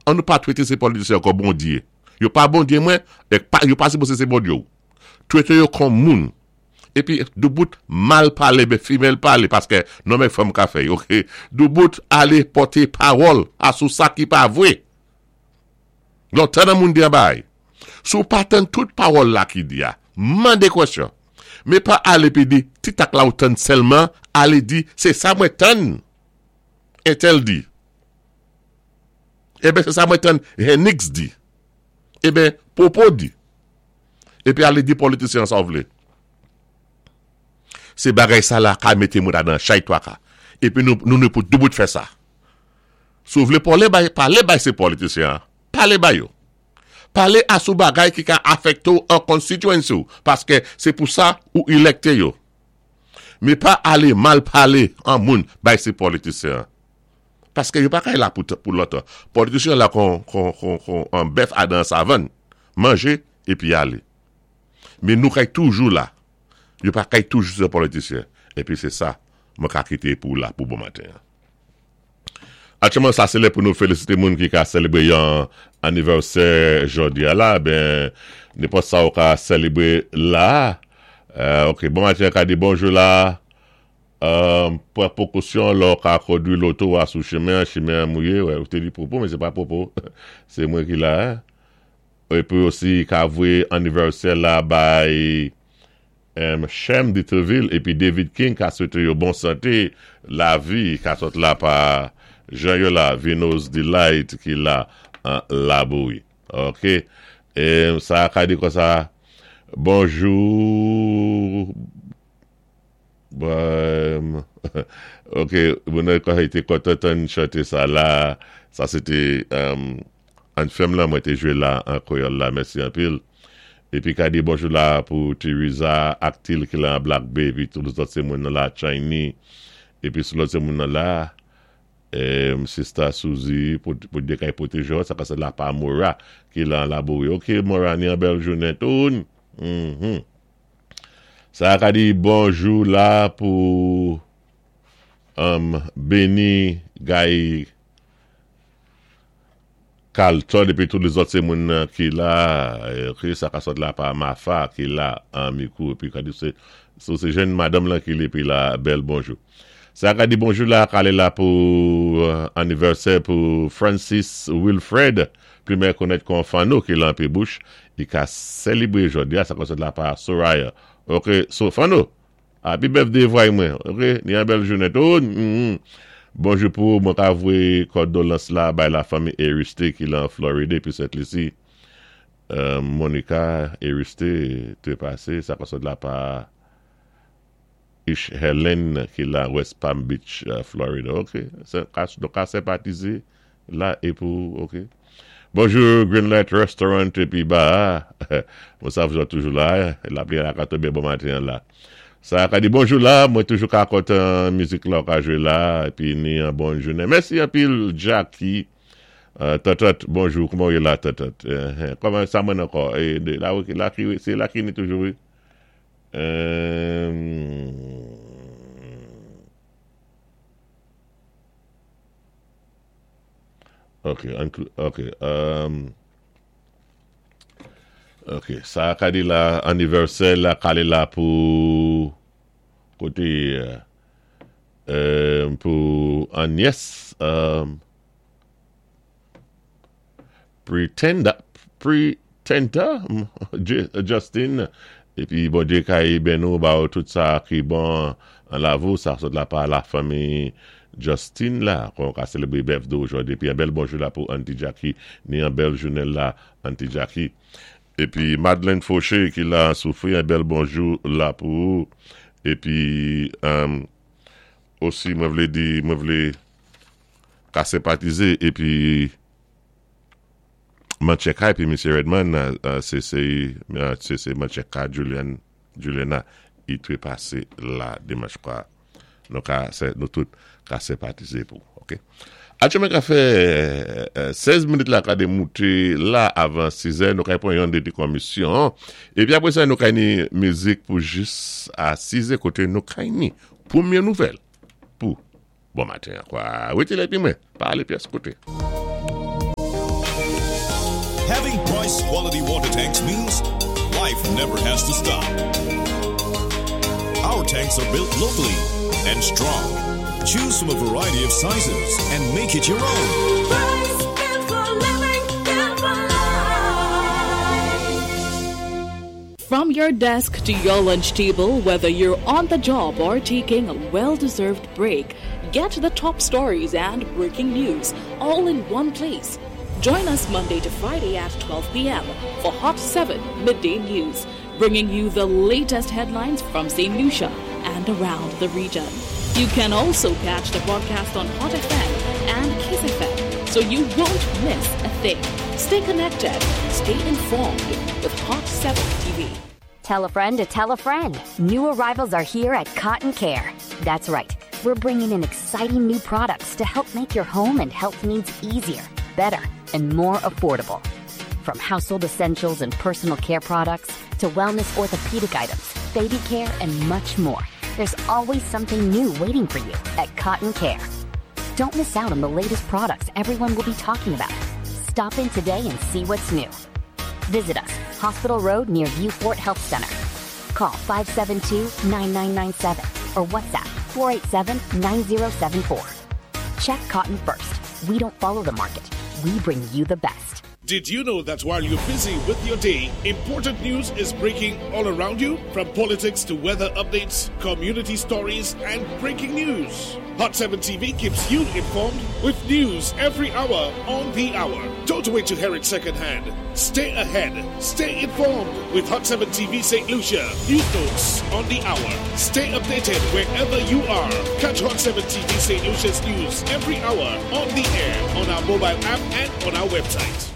An nou pa twété sé politisyen kon Bondyé. Yo pa Bondyé mwen, èk pa yo pa sipozé sé Bondye ou. Twété yo kon moun. Épi doubout mal palé ben fimèl palé paskè nonm èk fanm ka fè ok. Doubout alé pòté pawòl asou sa ki pa vwé. Lontan nan moun di an bay. Si w pa tann tout pawòl la ki di a, mande kwèsyon. Men pa ale epi di ti tak la ou tann sèlman, ale di se sa mwen tann entèl di. Eben se sa mwen tann Hennix di. Eben Popo di. Epi ale di politisyen an sa w vle. Se bagay sa la ka mete moun adan chay twaka. Epi nou nou pou doubout fè sa. Si w vle pale bay, pale bay se politisyen an. Pale bay yo. Pale a sou bagay ki ka afekte w an constituency w, paske se pou sa ou elekte yo. Men pa ale mal pale an moun bay se politisyen an. Paske yo pa kay la pou lontan. Politisyen an la kon, kon, kon, kon an bèf adan an savann. Manje epi ale. Men nou kay toujou la. Yo pa kay toujou se politisyen. Epi se sa mwen ka kite pou la pou bon maten an. Aktyèlman sa se lè pou nou felisite moun ki ka selebre yon anivèsè jodi a la ben nenpòt sa ou ka selebre la ok bon maten ka di bonjou la pran pwokosyon lè ou ka kondwi loto a sou chemen an chemen an mouye wè ou te di pwopo men se pa pwopo se mwen ki la epi osi ka voye anivèsè la bay M. Shem Detreville epi David King ka swete yo bon sante, lavi ka sot la pa jan yo la Vino's Delight ki la an Labouyi. Ok. E sa ka di konsa Bonjou Bon Ok, moun nan te kontan tann chante sa la. Sa se te Anthem lan mwen te jwe la an kreyòl la mèsi anpil. Epi ka di bonjou la pou Theresa ak Til ki la an Black Bay epi tout lòt se moun nan la Chiny epi sou lòt se moun nan la Sista Suzy pou Dye kay pwoteje w sa ka se la pa Mora ki la an Labouri ok Mora ni an bèl jounen toun humm sa ka di bonjou la pou Beni Guy Carlton epi tout lezòt se moun nan ki la ok sa ka sòt la pa Mafa ki la an mikou epi ka di se sou se jèn madanm lan ki li epi la bèl bonjou sa ka di bonjou la kale la pou anivèsè pou Francis Wilfred pli mè konèt kon Fanno ki la anpi bouch li ka selibre jodi a sa ka sòt la pa Soraya ok so Fanno Happy birthday vway mwen ok ni yon bèl jounen tou bonjou pou ou mwen ka voye kòdolans la bay la fanmi Eriste ki lan Floride epi Sent Lisi Monica Eriste te pase sa ka sot la pa Ish Helen ki lan West Palm Beach Florida ok nou ka senpatize La e pou ok. Bonjour Green Light Restaurant epi ba mwen sa vjò toujou la lapli a ka tonbe bon maten an la sa ka di bonjou la mwen toujou ka kontan mizik la ou ka jwe la epi ni an bon jounen mèsi anpil Jacky tantant bonjou kouman ou ye la tantant kòman sa mwen ankò la se la ki ni toujou wi. Ok, ok, ok, sa ka di la anivèsè la kale la pou kote pou Agnès Pretenda Pretenda Justin epi Bondye kay beni w ba w tout sa ki bon an lavi w sa sot la pa la fanmi Justin la kon ka selebre birthday w jodi epi yon bèl bonjou la pou Auntie Jackie ni yon bèl jounen la Auntie Jackie epi Madeleine Fauché ki la an soufri yon bèl bonjou la pou ou epi osi mwen vle di mwen vle ka senpatize epi Mancheka epi Misye Redman se se se Mancheka Julian Juliana i trepase la dimanch kwa nou ka nou tout ka senpatize pou ok Aktyèlman ka fè 16 minit la ka de moute la avan 6 è nou ka pran yon de ti komisyon epi apre sa nou ka ni mizik pou jis a 6 è kote nou ka ni premye nouvèl pou Bon maten an kwa. Rete la epi mwen pa ale pyès kote. Having Bryce quality water tanks means life never has to stop. Our tanks are built locally and strong. Choose from a variety of sizes and make it your own. Bryce, built for living, built for life. From your desk to your lunch table, whether you're on the job or taking a well deserved break, get the top stories and breaking news all in one place. Join us Monday to Friday at 12 p.m. for Hot 7 Midday News, bringing you the latest headlines from St. Lucia and around the region. You can also catch the broadcast on Hot FM and Kiss FM, so you won't miss a thing. Stay connected, stay informed with Hot 7 TV. Tell a friend to tell a friend. New arrivals are here at Cotton Care. That's right. We're bringing in exciting new products to help make your home and health needs easier, better, and more affordable. From household essentials and personal care products to wellness orthopedic items, baby care, and much more. There's always something new waiting for you at Cotton Care. Don't miss out on the latest products everyone will be talking about. Stop in today and see what's new. Visit us, Hospital Road near Viewfort Health Center. Call 572 9997 or WhatsApp 487 9074. Check Cotton first. We don't follow the market, we bring you the best. Did you know that while you're busy with your day, important news is breaking all around you? From politics to weather updates, community stories, and breaking news. Hot 7 TV keeps you informed with news every hour on the hour. Don't wait to hear it secondhand. Stay ahead. Stay informed with Hot 7 TV St. Lucia. News notes on the hour. Stay updated wherever you are. Catch Hot 7 TV St. Lucia's news every hour on the air, on our mobile app, and on our website.